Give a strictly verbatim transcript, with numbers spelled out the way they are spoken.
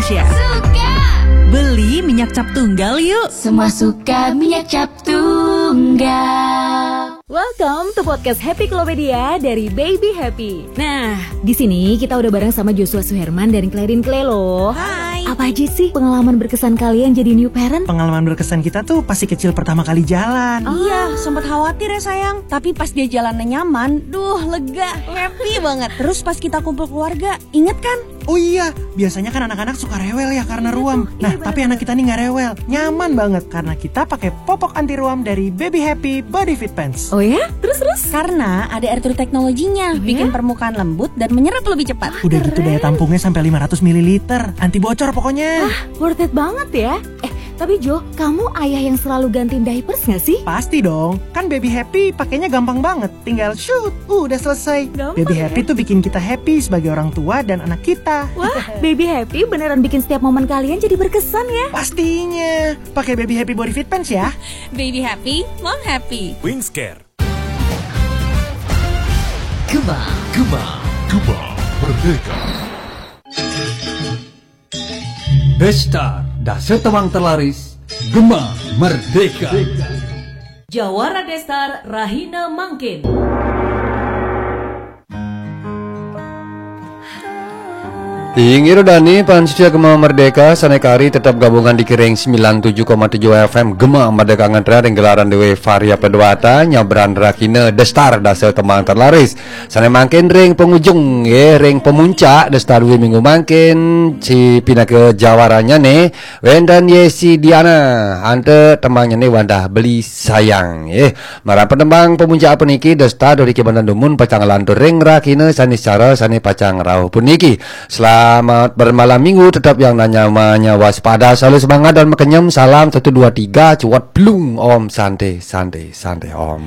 Suka. Beli minyak cap tunggal yuk. Semua suka minyak cap tunggal. Welcome to podcast Happy Klopedia dari Baby Happy. Nah, di sini kita udah bareng sama Joshua Suherman dan Clarin Clay loh. Hai. Apa aja sih pengalaman berkesan kalian jadi new parent? Pengalaman berkesan kita tuh pasti kecil pertama kali jalan. Iya, sempat khawatir ya sayang. Tapi pas dia jalannya nyaman, duh lega, happy banget. Terus pas kita kumpul keluarga, inget kan? Oh iya, biasanya kan anak-anak suka rewel ya karena ruam. Nah, tapi anak kita nih nggak rewel, nyaman banget karena kita pakai popok anti ruam dari Baby Happy Body Fit Pants. Oh ya? Terus terus? Karena ada air true teknologinya, bikin permukaan lembut dan menyerap lebih cepat. Udah gitu daya tampungnya sampai lima ratus mililiter, anti bocor pokoknya. Wah, worth it banget ya. Eh, tapi Jo, kamu ayah yang selalu gantiin diapers nggak sih? Pasti dong, kan Baby Happy pakainya gampang banget. Tinggal shoot, udah selesai. Gampang Baby Happy tuh bikin kita happy sebagai orang tua dan anak kita. Wah, Baby Happy beneran bikin setiap momen kalian jadi berkesan ya. Pastinya. Pakai Baby Happy Body Fit Pants ya. Baby Happy, Mom Happy. Wingscare. Gema, Gema, Gema Merdeka. Destar, dasa tembang terlaris, Gema Merdeka. Jawara Destar rahina mangkin. Inggih Rudani, pansitia Gema Merdeka, sane kari tetep gabungan di kiring sembilan tujuh koma tujuh F M Gema Merdeka ngentra ring gelaran dewe Varia Pedwata, nyabran rahina Destar dasa tembang terlaris. Sane mangkin ring pengujung, nggih, ring pemuncak Destar due minggu mangkin, si pinaka jawaranya ne, wenten Yesi Diana, anta tembangnya ne Wadah Beli Sayang, nggih. Marang penembang pemuncak puniki, Destar Dori Kibantan Dumun pacang lantur ring rahina sane sara sane pacang rauh puniki. Selamat bermalam minggu, tetap yang namanya waspada, selalu semangat dan makenyem. Salam satu dua tiga, cuat blung, Om Santi, Santi, Santi, Om.